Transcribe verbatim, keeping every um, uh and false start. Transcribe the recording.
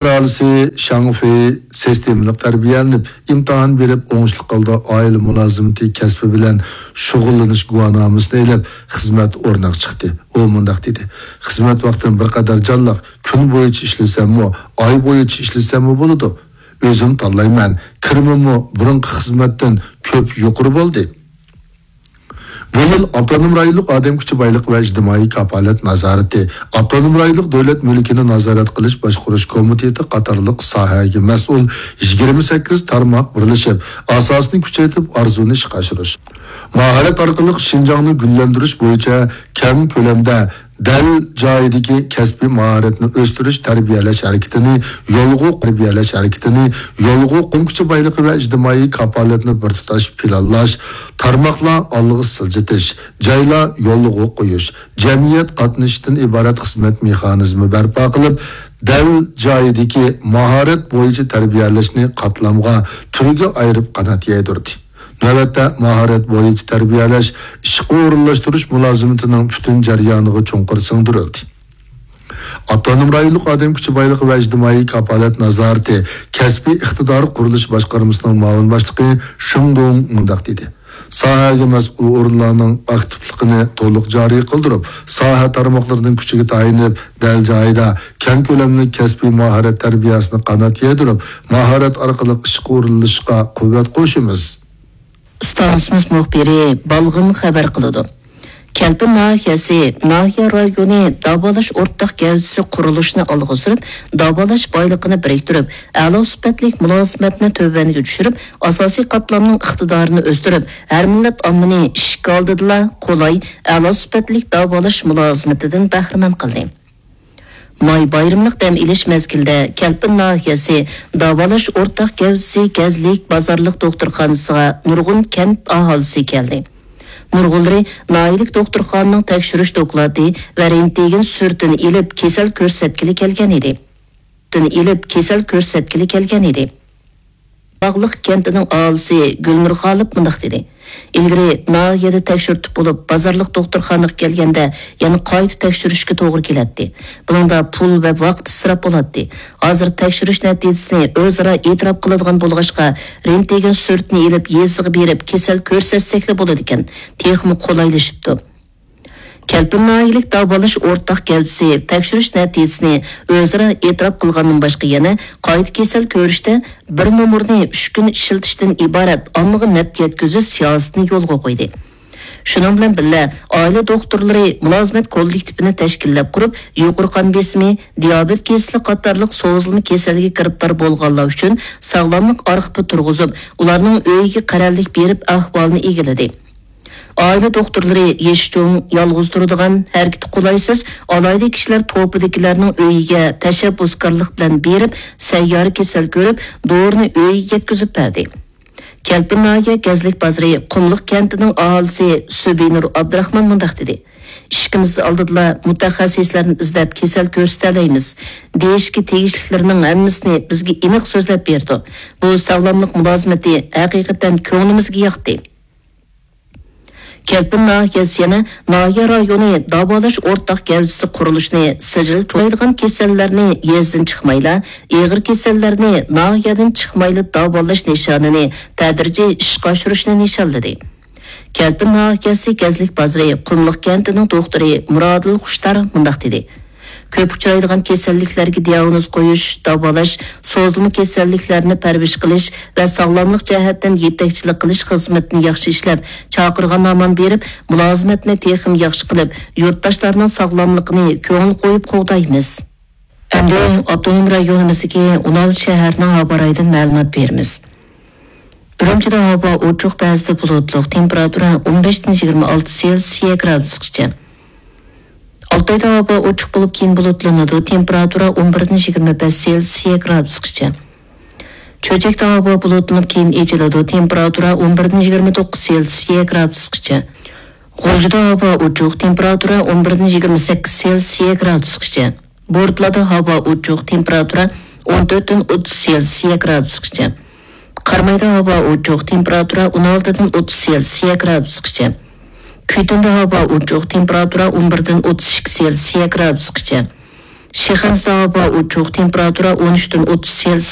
پۇقرالىسى شاڭفېي سىستېمىلىق تەربىيەلىنىپ، ئىمتىھان بېرىپ، ئوڭۇشلۇق ھالدا ئائىلە مۇلازىمىتى كەسپى بىلەن شۇغۇللىنىش گۇۋاھنامىسىنى ئېلىپ، خىزمەت ئورنىغا چىقتى. ئۇ مۇنداق دېدى: «خىزمەت ۋاقتىم بىر قەدەر جانلىق، كۈن بويىچە ئىشلىسەممۇ، ئاي بويىچە ئىشلىسەممۇ بولىدۇ. ئۆزۈم تاللايمەن، كىرىمىممۇ بۇرۇنقى خىزمەتتىن كۆپ يۇقىرى بولدى.» بۇ يىل ئاپتونوم رايونلۇق ئادەم كۈچى بايلىقى ۋە ئىجتىمائىي كاپالەت نازارىتى، ئاپتونوم رايونلۇق دۆلەت مۈلكىنى نازارەت قىلىش باشقۇرۇش كومىتېتى قاتارلىق ساھەگە مەسئۇل يىگىرمە سەككىز تارماق بىرلىشىپ، ئاساسنى كۈچەيتىپ، ئارزۇنى ئىشقا ئاشۇرۇش، ماھارەت ئارقىلىق شىنجاڭنى گۈللەندۈرۈش بويىچە كەڭ كۆلەمدە دەل جايىدىكى كەسپىي ماھارەتنى ئۆستۈرۈش، تەربىيەلەش ھەرىكىتىنى يولغا، تەربىيەلەش ھەرىكىتىنى يولغا قويۇش، كۈچى بايلىقى ۋە ئىجتىمائىي كاپالەتنى بىر تۇتاش پىلانلاش، تارماقلار ئالغا سىلجىتىش، جايلار يولغا قويۇش، جەمئىيەت قاتنىشىشتىن ئىبارەت خىزمەت مېخانىزمى بەرپا قىلىپ، دەل جايىدىكى ماھارەت بويىچە تەربىيەلەشنى قاتلامغا، تۈرگە ئايرىپ قانات يايدۇردى. نۆۋەتتە، ماھارەت بويىچە تەربىيەلەش، ئىشقا ئورۇنلاشتۇرۇش مۇلازىمىتىنىڭ پۈتۈن جەريانىغا چوڭقۇر سىڭدۈرۈلدى. ئاپتونوم رايونلۇق ئادەم كۈچى بايلىقى ۋە ئىجتىمائىي كاپالەت نازارىتى كەسپىي ئىقتىدار قۇرۇلۇشى باشقارمىسىنىڭ مۇئاۋىن باشلىقى شېڭ دۇڭ مۇنداق دېدى: «ساھەگە مەسئۇل ئورۇنلارنىڭ ئاكتىپلىقىنى تولۇق جارى قىلدۇرۇپ، ساھە تارماقلىرىنىڭ كۈچىگە تايىنىپ، دەل جايىدا كەڭ كۆلەملىك كەسپىي ماھارەت تەربىيەسىنى قانات يايدۇرۇپ، ماھارەت ئارقىلىق ئىشقا ئورۇنلىشىشقا قۇۋۋەت قوشىمىز.» ئىستانسىمىز مۇخبىرى بالغىن خەۋەر قىلىدۇ. كەلپىن ناھىيەسى ناھىيە رايونى داۋالاش ئورتاق گەۋدىسى قۇرۇلۇشىنى ئالغا سۈرۈپ، داۋالاش بايلىقىنى بىرىكتۈرۈپ، ئەلا سۈپەتلىك مۇلازىمەتنى تۆۋەنگە چۈشۈرۈپ، ئاساسىي قاتلامنىڭ ئىقتىدارىنى ئۆستۈرۈپ، ھەر مىللەت ئاممىنى ئىشىك ئالدىدىلا قولاي، ئەلا سۈپەتلىك داۋالاش مۇلازىمىتىدىن بەھرىمەن قىلدى. ماي بايرىملىق دەم ئېلىش مەزگىلىدە كەلپىن ناھىيەسى داۋالاش ئورتاق گەۋدىسى گەزلىك بازارلىق دوختۇرخانىسىغا نۇرغۇن كەنت ئاھالىسى كەلدى. نۇرغۇنلىرى ناھىيەلىك دوختۇرخانىنىڭ تەكشۈرۈش دوكلاتى ۋە رېنتگېن سۈرىتىنى ئېلىپ، كېسەل كۆرسەتكىلى كەلگەن ئىدى. ئېلىپ، كېسەل كۆرسەتكىلى كەلگەن ئىدى. باغلىق كەنتىنىڭ ئاھالىسى گۈلنۇر غالىپ مۇنداق دېدى: «ئىلگىرى ناھىيەدە تەكشۈرتۈپ بولۇپ، بازارلىق دوختۇرخانىغا كەلگەندە يەنە قايتا تەكشۈرۈشكە توغرا كېلەتتى. بۇنىڭدا پۇل ۋە ۋاقىت ئىسراپ بولاتتى. ھازىر تەكشۈرۈش نەتىجىسىنى ئۆزئارا ئېتىراپ قىلىدىغان بولغاچقا، رېنتگېن سۈرىتىنى ئېلىپ، يېزىغا بېرىپ كېسەل كۆرسەتسەكلا بولىدىكەن، تېخىمۇ قولايلىشىپتۇ.» كەلپىن ناھىيەلىك داۋالاش ئورتاق گەۋدىسى تەكشۈرۈش نەتىجىسىنى ئۆزئارا ئېتىراپ قىلغاندىن باشقا، يەنە قايتا كېسەل كۆرۈشتە بىر نومۇرنى ئۈچ كۈن ئىشلىتىشتىن ئىبارەت ئاممىغا نەپ يەتكۈزۈش سىياسىتىنى يولغا قويدى. شۇنىڭ بىلەن بىللە، ئائىلە دوختۇرلىرى مۇلازىمەت كوللېكتىپىنى تەشكىللەپ قۇرۇپ، يۇقىرى قان بېسىمى، دىيابېت كېسىلى قاتارلىق سوزۇلما كېسەلگە گىرىپتار بولغانلار ئۈچۈن ساغلاملىق ئارخىپى تۇرغۇزۇپ، ئۇلارنىڭ ئۆيىگە قەرەللىك بېرىپ ئەھۋالىنى ئىگىلىدى. ئائىلە دوختۇرلىرى يېشى چوڭ، يالغۇز تۇرىدىغان، ھەرىكىتى قولايسىز، ئالاھىدە كىشىلەر توپىدىكىلەرنىڭ ئۆيىگە تەشەببۇسكارلىق بىلەن بېرىپ، سەييارە كېسەل كۆرۈپ، دورىنى ئۆيىگە يەتكۈزۈپ بەردى. كەلپىن ناھىيە گەزلىك بازىرى قۇملۇق كەنتىنىڭ ئاھالىسى سۈبىنۇر ئابدۇراخمان مۇنداق دېدى: «ئىشىكىمىز ئالدىدىلا مۇتەخەسسىسلەرنى ئىزدەپ كېسەل كۆرسىتەلەيمىز. دېيىشكە تېگىشلىكلىرىنىڭ ھەممىسىنى بىزگە ئېنىق سۆزلەپ بېرىدۇ. بۇ ساغلاملىق مۇلازىمىتى ھەقىقەتەن كۆڭلىمىزگە ياقتى.» كەلپىن ناھىيەسى يەنە ناھىيە رايونى داۋالاش ئورتاق گەۋدىسى قۇرۇلۇشىنى سىجىل چوڭايدىغان كېسەللەرنى يېزىدىن چىقمايلا، ئېغىر كېسەللەرنى ناھىيەدىن چىقمايلا داۋالاش نىشانىنى تەدرىجىي ئىشقا ئاشۇرۇشنى نىشانلىدى. كەلپىن ناھىيەسى گەزلىك بازىرى قۇملۇق كەنتىنىڭ دوختۇرى مۇرادىل خۇشتار مۇنداق دېدى: «كۆپ ئۇچرايدىغان كېسەللىكلەرگە دىئاگنوز قويۇش، داۋالاش، سوزۇلما كېسەللىكلەرنى پەرۋىش قىلىش ۋە ساغلاملىق جەھەتتىن يېتەكچىلىك قىلىش خىزمىتىنى ياخشى ئىشلەپ، چاقىرغان ھامان بېرىپ، مۇلازىمەتنى تېخىمۇ ياخشى قىلىپ، يۇرتداشلارنىڭ ساغلاملىقىنى كۆڭۈل قويۇپ قوغدايمىز.» ئەمدى ئاپتونوم رايونىمىزدىكى ئون ئالتە شەھەرنىڭ ھاۋا رايىدىن مەلۇمات بېرىمىز. ئۈرۈمچىدە ھاۋا ئوچۇق، بەزىدە بۇلۇتلۇق، تېمپېراتۇرا ئون بەشتىن يىگىرمە ئالتە سېلسىيە گرادۇسقىچە. ئالتايدا ھاۋا ئوچۇق بولۇپ، كېيىن بۇلۇتلىنىدۇ، تېمپېراتۇرا ئون بىردىن يىگىرمە بەش سېلسىيە گرادۇسقىچە. چۆچەكتە ھاۋا بۇلۇتلىنىپ، كېيىن ئېچىلىدۇ، تېمپېراتۇرا ئون بىردىن يىگىرمە توققۇز سېلسىيە گرادۇسقىچە. غۇلجىدا ھاۋا ئوچۇق، تېمپېراتۇرا ئون بىردىن يىگىرمە سەككىز سېلسىيە گرادۇسقىچە. بورتالادا ھاۋا ئوچۇق، تېمپېراتۇرا ئون تۆتتىن ئوتتۇز سېلسىيە گرادۇسقىچە. قارامايدا ھاۋا ئوچۇق، تېمپېراتۇرا ئون ئالتىدىن ئوتتۇز سېلسىيە گرادۇسقىچە. كۈيتۈندە ھاۋا ئوچۇق، تېمپېراتۇرا ئون بىردىن ئوتتۇز ئىككى سېلسىيە گرادۇسقىچە. شىخەنزىدە ھاۋا ئوچۇق، تېمپېراتۇرا ئون ئۈچتىن ئوتتۇز سېلسىيەس